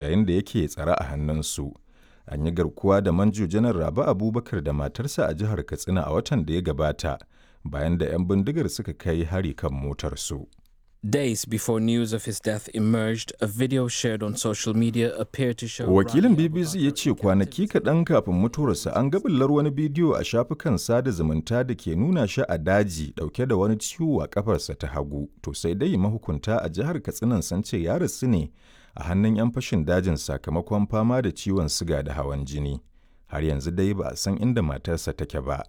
Yayin da yake tsare a hannunsu. An yi garkuwa da Manjo Janar Rabe Abubakar da matarsa a jihar Katsina a watan da ya gabata bayan da 'yan bindigar suka kai hari kan motarsu. Days before news of his death emerged, a video shared on social media appeared to show Wakilin Rabi BBC ya Abubakar ce kwanaki kaɗan kafin mutuwarsa an ga ɓullar wani bidiyo a shafukan sada zumunta da ke nuna shi a daji ɗauke da wani ciwo a ƙafarsa ta hagu. To sai dai mahukunta a jihar Katsinan sun ce ya rasu ne a hannun 'yan fashin dajin sakamakon fama da ciwon siga da hawan jini. Har yanzu dai ba a san inda matarsa take ba.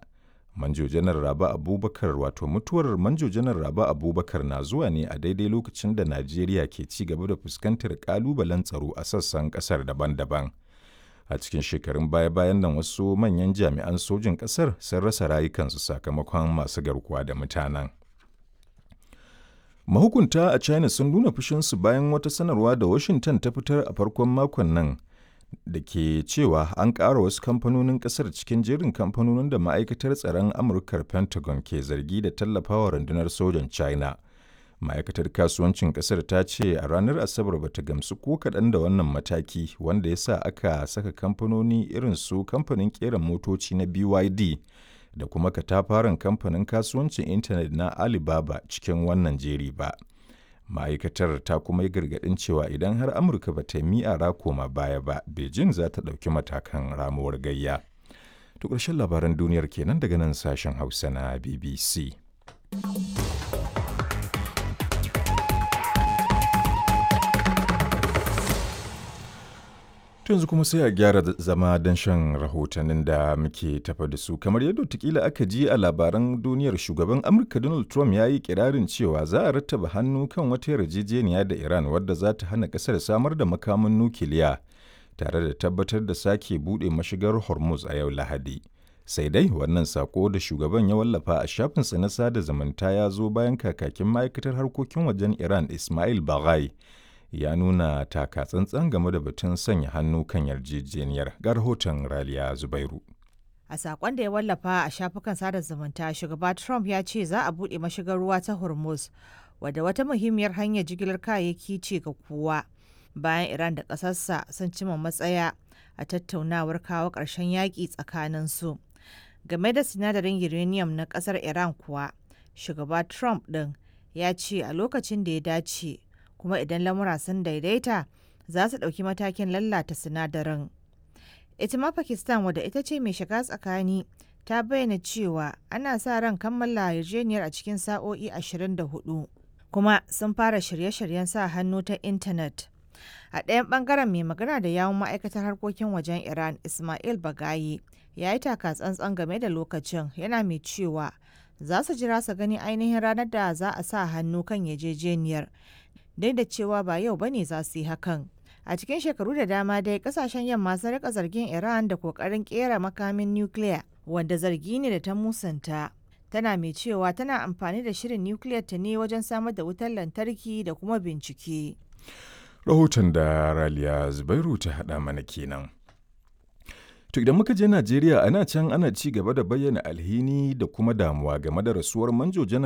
Manjo Janar Rabe Abubakar wato mutuwar Manjo Janar Rabe Abubakar na zuwa ne a daidai lokacin da Najeriya ke ci gaba da fuskantar kalubalen tsaro a sassan kasar daban-daban. A cikin shekarun baya-bayan nan wasu manyan jami'an sojin kasar sun rasa rayukansu sakamakon masu garkuwa da mutanen. Mahukunta a China sun nuna fushinsu bayan wata sanarwa da Washington ta fitar a farkon makon nan da ke cewa an ƙara wasu kamfanonin ƙasar cikin jerin kamfanonin da ma'aikatar tsaron Amurkar Pentagon ke zargi da tallafawa rundunar sojan China. Ma'aikatar kasuwancin ƙasar ta ce a ranar Asabar bata gamsu ko kaɗan da wannan mataki wanda ya sa aka saka kamfanoni irin su kamfanin ƙera motoci na BYD da kuma katafaren kamfanin kasuwancin intanet na Alibaba cikin wannan jeri ba. Ma'aikatar ta kuma yi gargaɗin cewa idan har Amurka ba ta yi mi'ara koma baya ba, Beijing za ta ɗauki matakan ramuwar gayya. To ƙarshen labaran duniyar kenan daga nan sashen Hausa na BBC. To yanzu kuma sai a gyara zama don shan rahotannin da muke tafa da su. Kamar yadda watakila aka ji a labaran duniyar shugaban Amurka Donald Trump ya yi kirarin cewa za a rattaba hannu kan wata yarjejeniya da Iran wadda za ta hana kasar samar da makamin nukiliya tare da tabbatar da sake buɗe mashigar Hormuz a yau Lahadi. Sai dai wannan sako da shugaban ya wallafa a shafinsa na sada zumunta ya zo bayan kakakin ma'aikatar harkokin wajen Iran Ismail Baghai ya nuna taka tsantsan game da batun sanya hannu kan yarjejeniyar ga rahoton Raliya Zubairu. A sakon da ya wallafa a shafukan sada zumunta, shugaba Trump ya ce za a buɗe mashigar ruwa ta Hormuz, wadda wata muhimmiyar hanyar jigilar kayayyaki ce ga kowa. Bayan Iran da ƙasarsa sun cima matsaya a tattaunawar kawo ƙarshen yaƙi tsakanin su. Game da sinadarin uranium na ƙasar Iran kuwa, shugaba Trump ɗin ya ce a lokacin da ya dace kuma idan lamura sun daidaita za su ɗauki matakin lalata sinadarin. Ita ma Pakistan wadda ita ce mai shiga tsakani ta bayyana cewa ana sa ran kammala yarjejeniyar a cikin sa'o'i 24 kuma sun fara shirye-shiryen sa hannu ta intanet. A ɗayan ɓangaren mai magana da yawun ma'aikatar harkokin wajen Iran Ismail Bagayi ya yi taka tsantsan game da lokacin yana mai cewa za su jira su gani ainihin ranar da za a sa hannu kan yarjejeniyar duk da cewa ba yau bane za su yi hakan. A cikin shekaru da dama dai kasashen yamma sun rika zargin Iran da kokarin kera makamin nukiliya wanda zargi ne da ta musanta. Tana mai cewa tana amfani da shirin nukiliyar ta ne wajen samar da wutar lantarki da kuma bincike. Rahoton da Raliya Zubairu ta haɗa mana kenan. To idan muka je Najeriya ana can ana ci gaba da bayyana alhini da kuma damuwa game da rasuwar Manjo Janar